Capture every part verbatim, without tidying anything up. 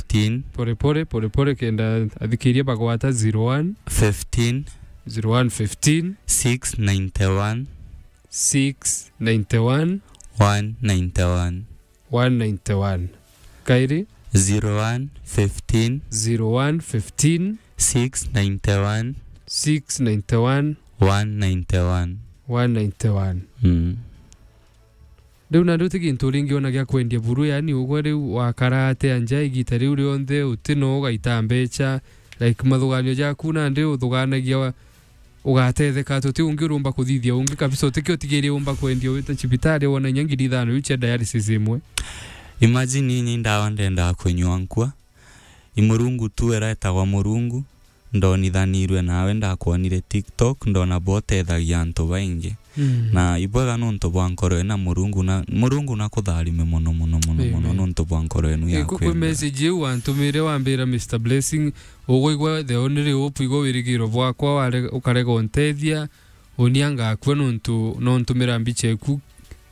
fifteen. Pole pole, pole pole, kenda athikiria bagwata. Zero one. Fifteen. Zero one fifteen. Six ninety-one. Six ninety-one. One ninety-one. One ninety-one. Kairi? Zero one fifteen. Zero one fifteen. Six ninety-one. Six ninety-one. One ninety-one. One ninety-one. Mm. Riu nandi uti gintu ringi ona gia kwendia buru, yani ugwe riu wakara atia nja igita riu rionthe, uti no ugaita mbecha, like, mathuganio jaku nandi uthuganagia wa-, ugatetheka atia? Uti ungi urumba kuthithia ungi kabisa, uti kio utigirie umba kwendia wite cibitari wona inya ngiri ithano iu cia dialysis imwe? Imagine ni ndawa ndendaga kunyua nkua. I Murungu tu era etagwa Murungu, ndonithanirue nawe, ndakwonire TikTok, ndona bwa utethagia antu baingi. Mm. Na ibwega nontu bwa nkoro ina Murungu na, Murungu na kutharime mono, mono, mono, mono. Amen. Nontu bwa nkoro enu ya kwenda. Kwi message iu wantumire wambira, Mister Blessing, ugwigua the only hope, igwe wirigiro bwakwa, ware-, ukarega untethia, unia ngakua nontu, nontumira mbicha eku,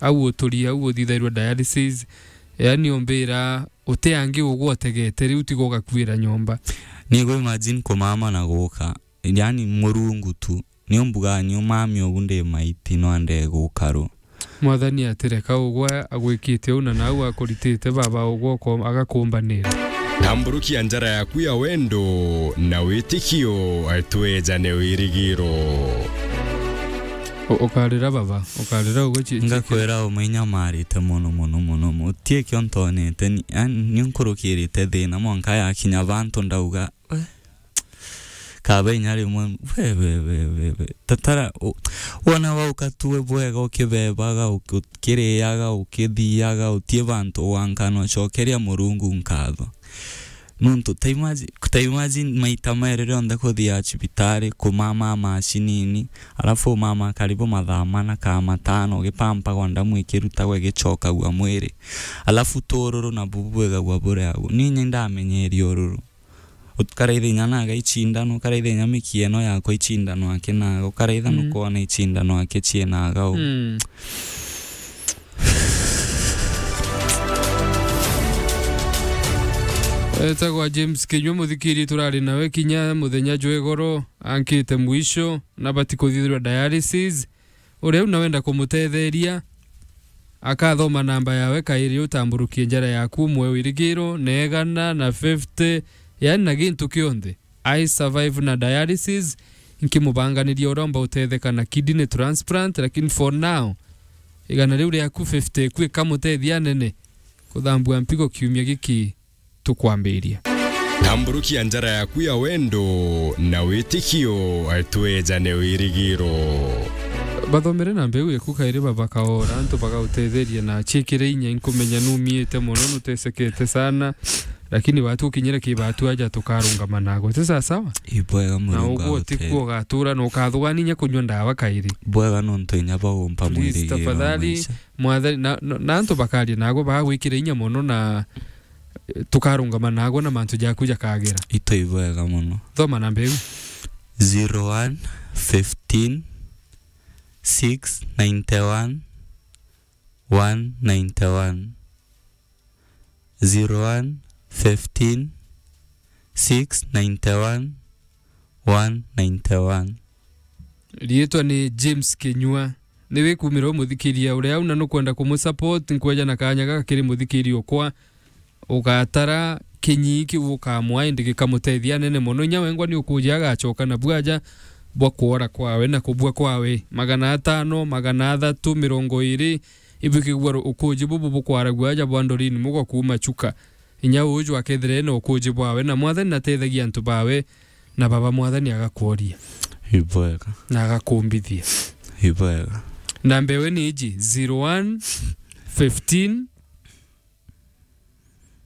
au uturi, au uthithairwa dialysis, yani umbira, uti angi ugwa utegete, riu tiga ugakuira nyomba. Ni go imagine kumama na guka, yani Murungu tu. Ni umbuga ni umami ugu ndi maiti no ande guka ru. Mwathani atireka ugwa agwikite u na nau akuritite baba ugwa uko-, agakumbanira. Tamburukia njara yaku ya wendo na witikio, twejane wirigiro. U-, ukarira baba, ukarira ugwe chi-, chi-, ngakwira umwe inyamarite mono, mono, mono, mono. Utie kio ntonete ni, yani, ni nkurukirite thina mwanka yakinya bantu ndauga, "We, kaba inya rimwe, we, we, we, we, we." Tatara, u-, wona wauka tu we bwega, ukibebaga, uki-, ukiriaga, ukithiaga, utie bantu wankana ucokeria Murungu nkatho. Nontu ta imagine, ta imagine maita mairi rionthe kuthia cibitari, kumama macinini, alafu umama karibu mathaa mana kaa matano, ugipampagwa ndamu ikirutagwa igicokagua mwiri. Alafu tu ururu nabu bwigagua buri agu. Ni inya ndamenyeria ururu. Ukaraitha inya naga icindano, ukaraitha inya mikieno yakwa icindano aki naga, ukaraitha Mm. nukwona icindano aki cienaga u. Mm. Etagwa James Kinyua, muthikiri turari nawe kinya muthenya jwa igoro, ankite mwisho, na bati kuthithirwa dialysis. Uria u nawenda kumutetheria, akathoma namba yawe kairi, utamburukie njara yaku, umwe wirigiro, na igana na fifty, yani na gintu kionthe. I survive na dialysis, nkimubanganiria uria umba utetheka na kidney transplant, lakini for now, igana riu riaku fifty eku ikamutethia anene kuthambua mpigo kiumia giki tukwambiria. Tamburukia njara yaku ya wendo na witikio, twejane wirigiro. Bathomere na mbeu eku kairi baba kaora, antu bagautetheria na ciikire inya, inkumenya numiite mono, nutesekete sana, lakini batu ukinyire ki batu aja tukarungama nago. Ti sawa sawa? Ibwega. Na Murungu uguo ti agutethie. Kuo ugatura na ukathugania inya kunyua ndawa kairi. Bwega nontu inya bagumpa Please, mwirigiro tafadhali, maisha. Mwathani, na, na, na antu bakaria nago bagwikire inya mono na tukarungama nago na mantu jaku jakagira. Itu ibwega mono. Thoma namba iu. Zero one fifteen six ninety one one ninety one. Zero one fifteen six ninety one one ninety one. Riitwa ni James Kinyua. Ni wikumira umuthikiria uria au na nukwenda kumusupport, nkweja na kanya gaka kiri muthikiria ukwa. Ugatara kinyi kiu ukamwa, indi gikamutethia anene mono. Inya wengwa ni ukuja agacoka na bwaja bwa kuora kwawe na kubua kwawe. Magana atano, magana athatu, mirongo iri, ibukigua ru-, ukuji bubu bukwaragua aja bwa Doreen Mugo kuuma Chuka. Inya uju akethire ena ukuji bwawe, na Mwathani natethagia antu bawe, na baba Mwathani agakworia. Ibwega. Na agakumbithia. Ibwega. Namba ewe ni iji, zero one fifteen,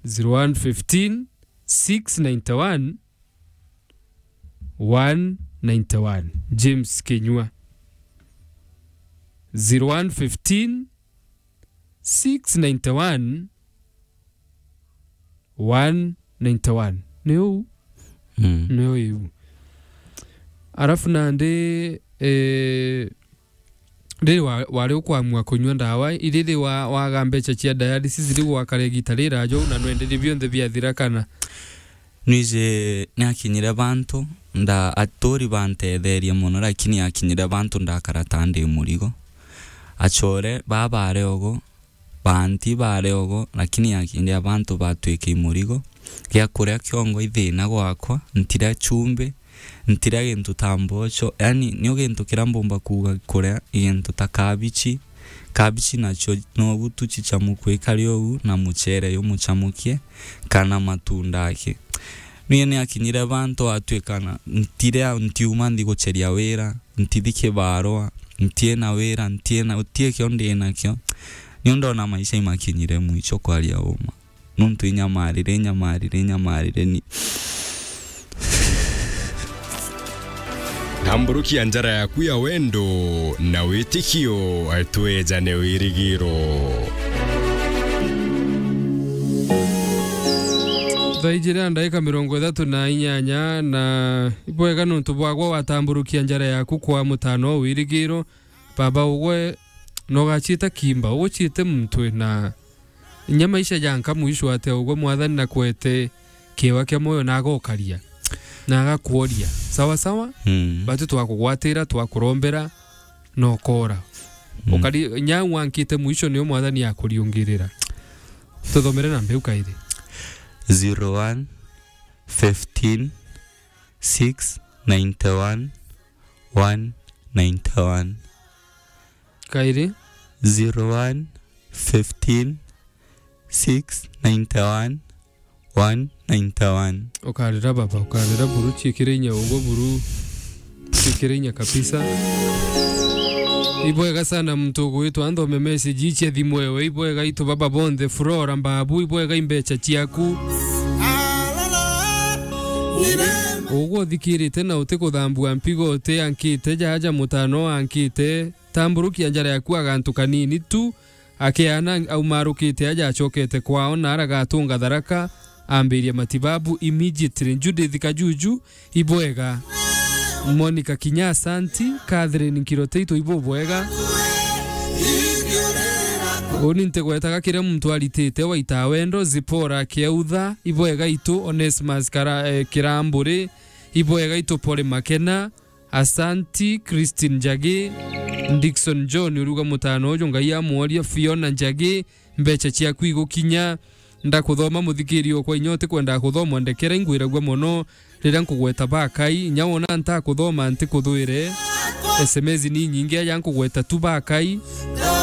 zero one fifteen, six ninety one, one ninety one. James Kinyua. Zero one fifteen, six ninety one, one ninety one. Ni uu? Mm. Ni uu iu. Arafu nandi, eh, Riri wa-, wari ukwamua kunyua ndawa, iriri wa-, waga mbeca cia dialysis, riu gwakara igita riraja uu, na nwenderi bionthe biathira kana? Nwiji niakinyire bantu, nda-, aturi bantetherie mono, lakini yakinyire bantu ndakara ta ndi murigo. Achore baba ari ogo, banti bari ogo, lakini yakinyire bantu batwika imurigo. Gia kuria kiongo ithina gwakwa, ntiria chumbi, ntiria gintu ta mbocho. Yani, nio gintu kiria mbumba kuuga kuria i gintu ta kabichi. Kabichi nacio nobu tu chichamukua ikari uu, na muchere jumuchamukie, kana matunda aki. Niĩ nĩakinyire ba ntwatwikana, ntire, ntiuma nthi gucheria wira, ntithi kibarua, ntiina wira, ntiina, guti kio ndinakio. Niu ndona maisha imakinyire mwicho kwaria uma. Nontu inyamarire, inyamarire, inyamarire ni. Tamburukia njara yaku ya wendo na witikio, twejane wirigiro. Thaa ijiri na ndaika mirongo ithatu na inyanya, na ibwega nontu bwagwa watamburukia njara yaku kwa mutano wirigiro. Baba ugwe, nogachita kimba, uguchite mutwe na Inya maisha janka mwisho ate ugwe Mwathani nakwete kiewa kia moyo na agokaria, na agakworia. Sawa sawa? Mm. Batu twakugwatira, twakurombera, na ukora. Mm. Ukari-, inya wankite mwisho nio Mwathani akuriungirira. Tuthomere namba iu kairi. Zero one, fifteen, six, ninety one, one, ninety one. Kairi? Zero one, fifteen, six, ninety one, one, ninety one. Ukarira baba, ukarira buru, chiikire inya ugwe buru, chiikire inya kabisa. Ibwega sana muntu ugwitwa nthome message ichi athimwewe. Ibwega itu baba bonthe, Flora Mbabu, ibwega imbecha chiaku. Ugwe uthikirite na utikuthambua mpigo uti ankite, jaja mutano ankite, tamburukia njara yaku agantu kanini tu, akiana aumarukite aja acokete kwao na aragatunga Tharaka, ambiria matibabu immediately. Judith Kajuju, ibwega. Monica Kinya, asanti. Catherine Nkiroteito, ibubwega. Uni ntigwetaga kiria muntu aritite waita wendo. Zipora Kiautha, ibwega itu. Onesmus Kara-, eh, Kiramburi, ibwega itu. Pole Makena, asanti. Christine Njagi, Dickson John, uruga mutano uju Ngai amworia. Fiona Njagi, mbecha ciaku igukinya. Ndakuthoma muthikiri okwa, inya utikwenda kuthoma, ndekera ingwiragua mono riria nkugweta bakai. Inya wona ntakuthoma, ntikuthwire. S M S ni nyingi aja nkugweta tu bakai.